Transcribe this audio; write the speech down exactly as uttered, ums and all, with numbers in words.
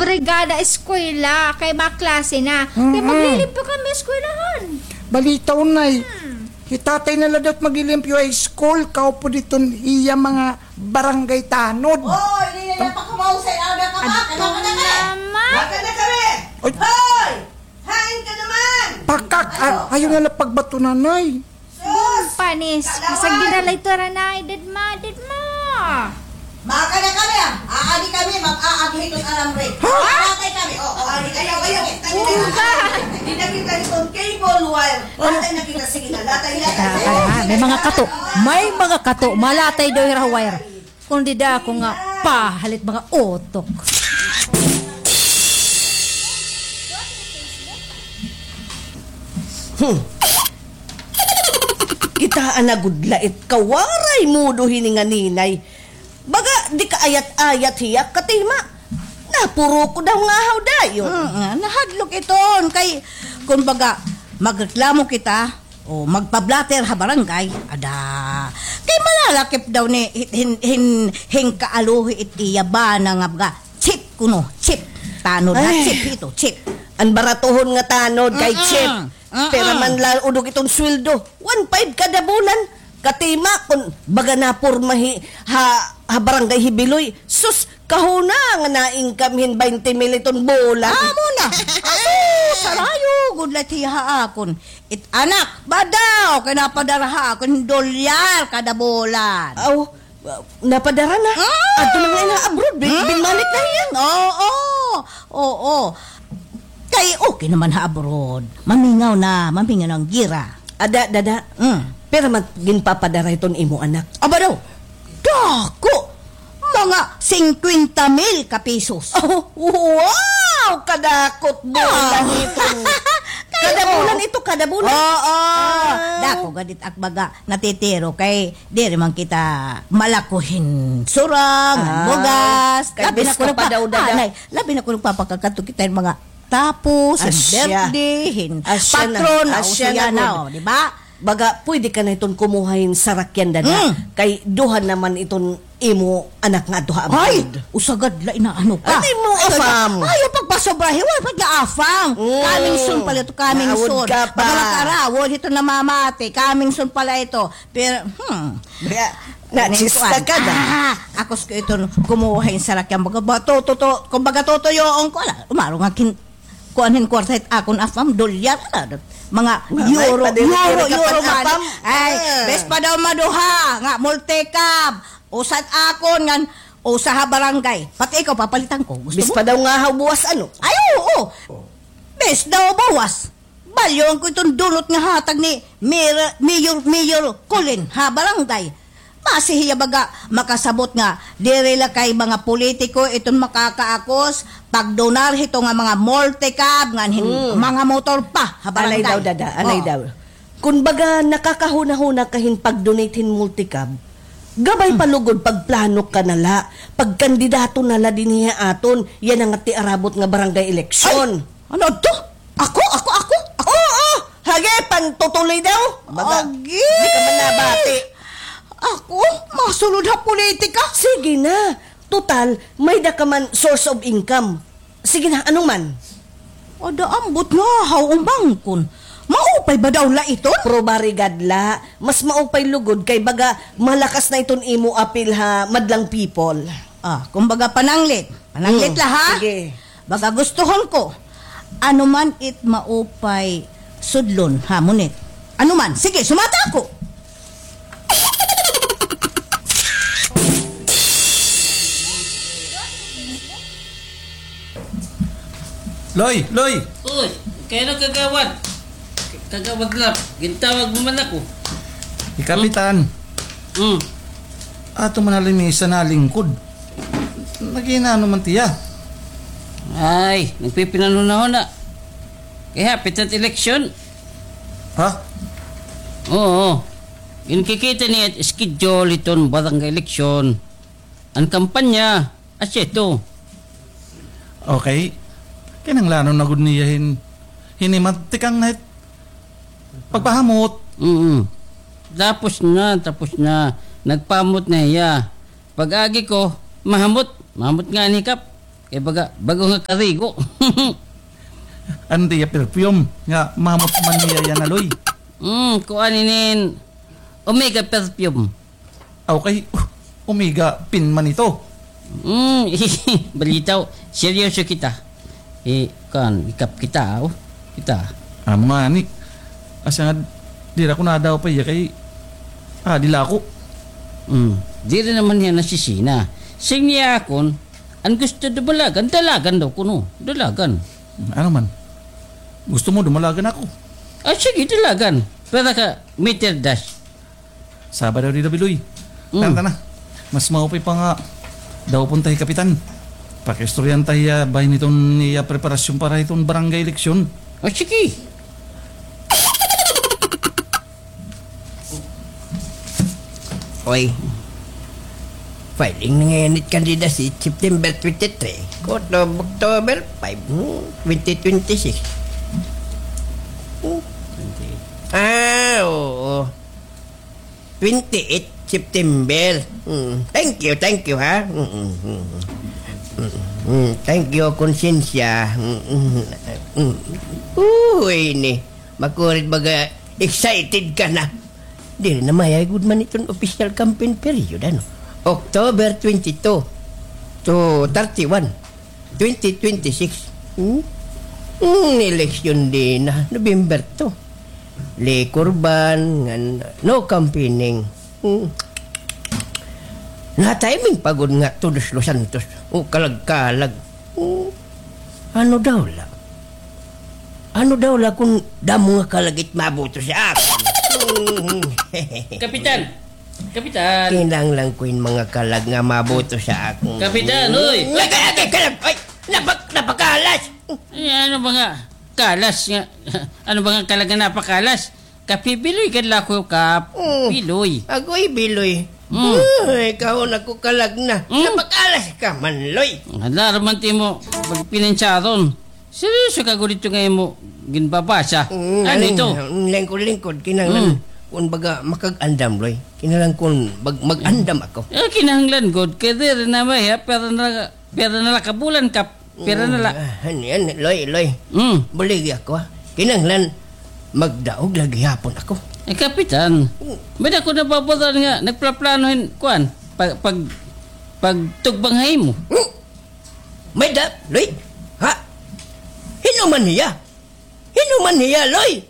Brigada eskwela, kay maklase na. Kay maglilimpyo kami eskwelahan. Balita, Nay. Hmm. Hi tatay na la daw it maglilimpyo ha school, kaupod iton iya mga barangay tanod. Oy, dili na pakamausay, ada ka pa, Adto kailangan na kami. Naman. Baka na kami. Oy. Hoy! Hain ka naman? Pakak, a-, ayaw na la pagbato, Nanay. Sus! Panis, kasag dinalay to, Ranay, dadma, dadma. Baka na kami, ah. Aagi kami, mag-aagi hiton alambre. Ha? Latay kami. O, o, ayaw, ayaw. Di na kita hiton cable wire. Latay na kita, sige na, latay, latay. Ah, ah, may mga kato. May mga kato. Malatay daw hira ha wire. Kon dida ako nga pahalit mga utok. Hmm. Kitaa na gud la it kawaray mudo hini nga ninay. Baga di kaayat-ayat hiya, Katima. Napuroko daw nga haw dayon. Mm, nahadlok iton kay, kumbaga, magreklamo kita, o magpa-blotter ha barangay, ada. Kay malalakip daw ni hin, hin, hin kaaluhi it iya bana nga baga, chip kuno, chip. Tanod ha, chip ito, chip. An baratohon nga tanod kay chip. Mm-mm. Pira man la udog iton sweldo? One five kada bulan. Katima, kon baga naporma hi, ha, ha barangay hi Biloy. Sus, kahuna nga na-income hin baynte mil iton bulan. Amo na. Aso, sarayo gud la it hiya ha akon. It anak, badaw, kay napadara ha akon hin dolyar kada bulan. Aw, napadara na. Mm. Adto na nga ha abroad, bin-, binmalik na hiya. Oo, oo. Kay okay naman ha abroad. Mamingaw na, mamingaw na an gira. Ada, dada. Mm. Pira man ginpapadara hiton imo anak? Aba daw, dako! Mga singkwenta mil ka pesos. Oh, wow! Kadako it bulan ito. Kada bulan ito, kada bulan? Oo. Ah. Dako gad it ak baga natitiro kay diri man kita malako hin sura, ngan bugas. Kay labi na kuno pa daw, dada. Anay, labi na kuno pa pagkakadto kita hin mga tapos, hin birthday, hin patron, asya na, o, di ba? Baga, pwede ka na iton kumuha hin sarakyan, dada. Mm. Kay duha naman iton imo anak nga adto ha abroad. Ay, usa gad la inaano ka. Ano imo afam? Ayaw pagpasobrahi, wala pa nga afam. Mm. Coming soon pala ito, coming soon. Maawod ka pa. Baga makarawod ito namamati, coming soon pala ito. Pero, hmm. Kaya, nachista ka na. Ah, akos ko ito, kumuha hin sarakyan. Baga, ba, to, to, to, kumbaga, tutuyoon ko, ala, umaro nga kin-, kuan hin kwarta hit akon afam, dolyar, ala, mga euro, euro, euro money. Ay, bes pa daw maduha, nga multicab, usa it akon, ngan usa ha barangay. Pati ikaw, papalitan ko. Gusto mo? Bes pa daw nga haw buwas, ano? Ay, oo. Bes daw buwas. Balyoan ko iton dulot nga hatag ni Mayor, Mayor, Mayor Colin ha barangay. Basi hiya baga makasabot nga diri la kay mga politiko iton makakaakos pagdonar hito nga mga multicab ngan hin-, mga motor pa ha barangay. Anay daw, dada, anay daw. Kon baga nakakahunahuna ka hin pag-donate hin multicab, gabay pa lugod pagplano ka na la, pagkandidato na la dinhi ha aton, yana nga tiarabot nga barangay eleksyon. Ay, ano adto? Ako, ako, ako, ako. Oo, hage, pantutuloy daw. Baga, agi. Di ka man nabati. Ako, masulod ha politika? Sige na. Total, may-ada ka man source of income. Sige na, ano man? Ada ambot nga haw umangkon. Maupay ba daw la iton? Probari gad la. Mas maupay lugod kay baga malakas na iton imo apil ha madlang people. Ah, kumbaga pananglit. Pananglit la, ha? Sige. Baga gustuhon ko. Ano man it maupay sudlon, ha, ngunit. Ano man, sige, sumata ako. Loy, Loy! Uy, kay ano, kagawad? Kagawad Lap, gintawag mo man ako. Hi Kapitan. Hmm. Ato man na lamisa nalingkod. Nag-iinano man tiya? Ay, nagpipinanhunahuna. Kay hapit na it eleksyon. Ha? Oo. Ginkikita niya it schedule hiton barangay eleksyon. An kampanya, asya ito. Okay. Kinahanglanon na gud niya hin-, hinimat tikang na it pagpahamot. Mm. Tapos na, tapos na. Nagpahamot na hiya. Pag-agi ko, mahamot. Mahamot nga an hikap. Kay baga, bag-o nga karigo. Ano it iya perfume nga mahamot man niya yana, Loy? Hmm, kuan inin Omega perfume. Aw, kay Omega pin man ito. Hmm, balitaw, seryoso kita. Eh, kuan, ikap kita, oh. Kita. Amo ngani. Asya nga, diri ako nadaw pa iya kay, ah, diri la ako. Hmm, diri naman niya nasisina. Sing niya akon, an gusto dumalagan, dalagan daw kuno. Dalagan. Ano man? Gusto mo dumalagan ako? Ah, sige, dalagan. Para ka, meter dash. Saba daw dida, Biloy. Mm. Tana, tana. Mas maupay pa nga daw pun ta hi Kapitan. Pakiistoryahan ta hiya bahin hiton iya preparasyon para hiton barangay eleksyon. O, sige. Oy. Filing na ngayon it candidacy, September twenty-three. October, October five, hmm, twenty twenty-six. Hmm. Ah, oo. Twenty-eight September. Mm. Thank you, thank you, ha? Mm, mm, mm. Mm, mm. Thank you, konsensya. Mm, mm, mm. Uy, ni. Makurit baga excited ka na. Diri na mayay gud man iton official campaign period, ano? October twenty-two to thirty-one. Twenty twenty-six. Hmm? Hmm, eleksyon di na, November two. Liquor ban, ngan no campaigning. Hmm. Na-timing pa gud nga Todos los Santos. O, kalag-kalag. Hmm. Ano daw la? Ano daw la kun damo nga kalag it maboto sa akon? Hmm. Kapitan! Kapitan. Kinahanglan ko hin mga kalag nga maboto sa akon. Kapitan, uy! Lagay, lagay, kalag! Ay! Napak-, napakalas! Ay, ano ba nga? Kalas nga. Ano ba nga kalag nga napakalas? Kapibiloy ka la ko, Kap. Mm. Biloy. Agoy, Biloy. Mm. Uy, kahon ako kalag na. Mm. Napakalas ka man, Loy. Hala, raman ti mo. Pagpinansaron. Seryoso ka gud ito nga imo ginbabasa? Mm, ano ito? Mm, lingkod-lingkod, kinahanglan, mm, kun baga makag-andam, Loy. Kinahanglan kun mag-, mag-andam ako. Eh, kinahanglan gud, kay diri na may, ha? Pero na, pero na la ka bulan, Kap. Pero na la. Mm, ah, ano yan, Loy, Loy. Mm. Buligi ako, ha? Kinahanglan magdaog la gihapon ako. Eh, Kapitan, mm, may ako nababaran nga, nagplaplano hin, kuan, pag, pag, pagtugbang ha imo. Mm. May da, Loy? Ha? Hin-o man hiya? Hin-o man hiya, Loy?